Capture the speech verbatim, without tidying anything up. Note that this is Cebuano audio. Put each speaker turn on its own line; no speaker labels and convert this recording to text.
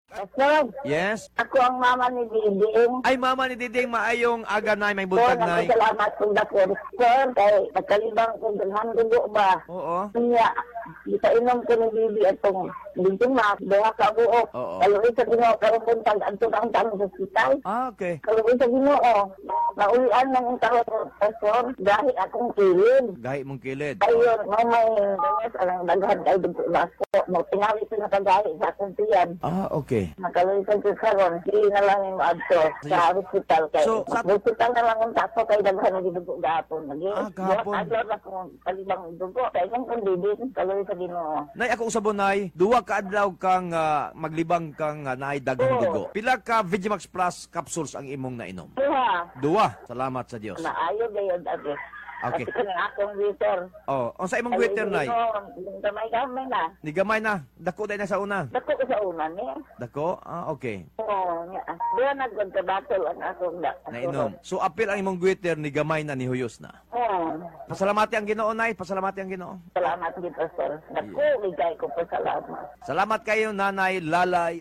Pastor,
Yes.
ako ang mama ni Diding.
Ay, mama ni Diding, maayong aga, nay, may
Sir,
buntag, nay.
nagpasalamat kong dako. Sir, kay nagkalibang kong daghan dugo ba?
Oo.
Niya, gipainom ko ni Bibi atong dito ma, duha ka buok.
Oo.
Kaluoy sa Ginoo karong buntag adto ang tang sa ospital.
Ah, okay.
Kaluoy sa Ginoo. Naulian ng taon, Pastor, dahil akong kilid.
Gahi mong kilid.
Ayun, mo may gawas ang daghan kay dugo na ako. Mo tingali ko nakagahi sa akong tiyan.
Ah, okay.
Nakaloy sa Diyos karon, di na lang yung adto sa hospital kay.
So, sa-
hospital na lang ang tapo kay daghan na gidugo gahapon. Lagi.
Ah, gahapon.
Adlaw na kung palibang dugo kay kung kung didi kaloy sa Ginoo.
Nay, ako usabon, nay, duwa ka adlaw kang ah, maglibang kang uh, naay daghang
Oo.
dugo. Pila ka Vigimax Plus capsules ang imong nainom?
Duha.
Duwa. Salamat sa Dios.
Naayo gayud ate.
Okay.
Kasi kanang akong waiter.
Oh, unsa imong waiter, nay?
Gamay gamay na.
Ni gamay na. Dako day na sa una.
Dako ko sa una ni.
Dako? Ah, okay.
Oo, nga. Duha na gud ka battle ang akong da.
Nainom. So apil ang imong waiter ni gamay na ni huyos na.
Oo.
Pasalamati ang Ginoo, nay. Pasalamati ang Ginoo.
Salamat gid, Pastor. Dako gid kay ko pasalamat.
Salamat kayo, Nanay Lalay.